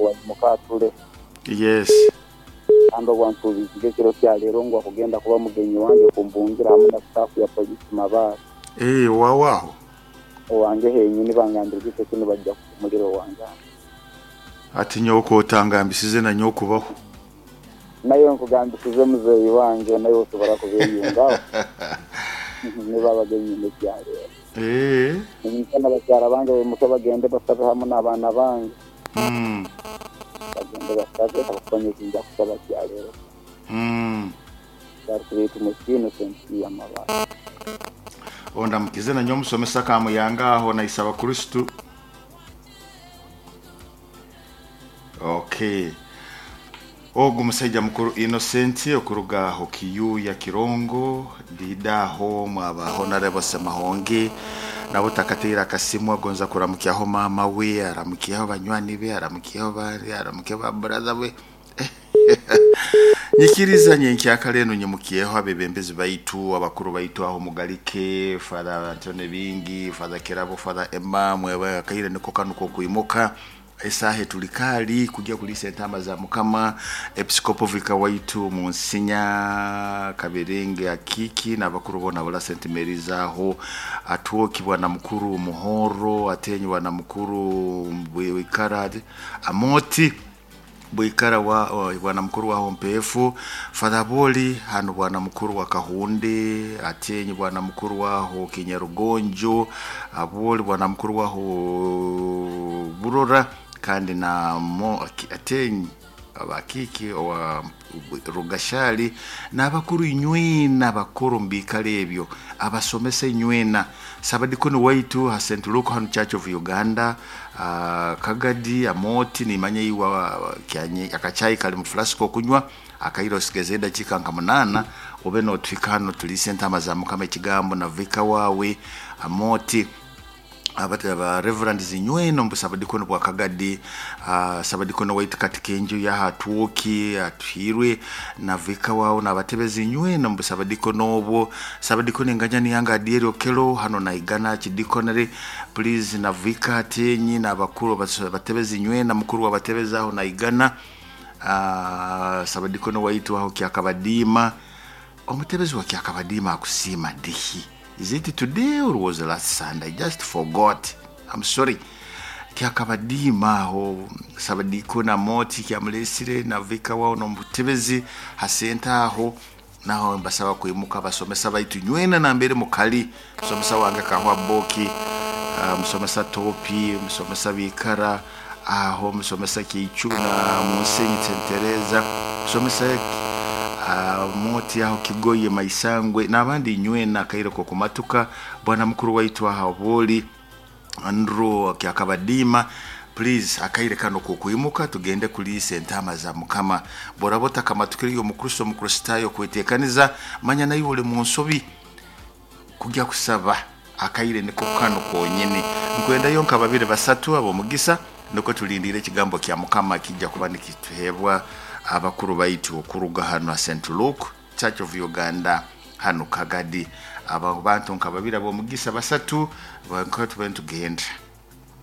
Aimuke atule. Yes. Kandi obu ansuubiziga ekiro kya leero ngu akugenda kuba mugenyi wange kumbungira hamu na staff ya police Mabaare. Eeh owaawe aho? Owange henyini bangambire ekiro kinu baija kuhumulira owange hanu. Ati nyowe kotangambisize na nyowe kubaho. Naiwe nkugambisize muzeeyi wange naiwe osobora kubeyungaho. Nibo abagenyi nekya leero. Eeh. Niinyija na bakyara bange baimuke bagende basabe hamu n'abaana bange. Bagende basabe habwokuba nyowe tinja kusaba kya leero. Baitu Innocent Amabaare. Ondamukize na nyowe omusomesa Kamuyanga aho naisaba Kristo. Okay. Ogu musaija mukuru Innocent okuruga aho Kiyuya Kirongo Dida aho mwaba Honorable Semahonge nabo takateire akasimu agonza kuramukyaho maama we aramukyeho banywani be aramukyeho bandi aramukyeho ba brother be. Nyikiriza nyenkyakare enu nyimukyeho abebembezi baitu abakuru baitu aho Mugalike, Father Antony Bingi, Father Kirabo, Father Emma, mwebe akaire niko kanu kokwimuka esaaha etuli kaali kugya kuliisa entaama za Mukama. Episikopo Vika waitu Munsinya Kaberenge Akiiki n'abakuru boona abala St Mary's aho Atwoki bwana mukuru Muhoro Atenyi bwana mukuru Bwikara Amoti Bwikara wa bwana mukuru wa Hompefu Father Boli hano bwana mukuru wa Kahunde Atenyi bwana mukuru waho Kinyarugonjo Aboli bwana mukuru waho Burora kandi na mo Atenyi abakiki owa Rugashali n'abakuru inywena abakuru mubikalo ebyo abasomesa inywena Sabadikoni waitu ha St Luke hanu Church of Uganda Kagadi Amoti nimanya iwa akachai kali mu flasiko okunywa akaire osigeze edakiika nka 8 obe notuhika hano tuliise entaama za Mukama ekigambo na vika wawe Amoti aba Reverend Zinyweno mbu Sabadikoni bwa Kagadi, Sabadikoni waitu Katikenjo yaha Atwoki atuhirwe na vika wao n'abatebezi inywena mbu Sabadikoni obwo Sabadikoni enganyani yange Adieri Okelo hano naigana Chidikonere please na vika Atenyi n'abakuru batebezi inywena mukuru w'abatebezi aho naigana Sabadikoni waitu aho Kyakabadiima omutebezi wa Kyakabadiima akusiima dihi. Is it today or was last Sunday? I just forgot. I'm sorry. Kyakabadiima aho Sabadikoni Amoti kyamulesire na vika wao n'omutebezi hasenta aho naho mbasaba kwimuka basomesa baitu nywena nambere mukali musomesa wange Kahwa Boki, musomesa Topi, musomesa Bikara aho musomesa Kichu na Musenyi Tentereza musomesa Moti aho Kigoye Maisangwe n'abandi nywena akaire ko kumatuka bwana mukuru waitu aho Boli Andrew Kyakabadiima please akaire kano kokwimuka tugende kuliisa entaama za Mukama. Boraba otakamatukire omukristo omukristayo kwetekaniza manya naiwe oli mu nsobi kujya kusaba akaire niko kano konyene. Nkwendayo nka babiri basatu ab'omugisa niko tulindire ekigambo kya Mukama kijja kuba nikituheebwa abakuru baitu okuruga hano ha St Luke Church of Uganda hano Kagadi. Abo bantu nka babiri ab'omugisa basatu nka tube nitugenda.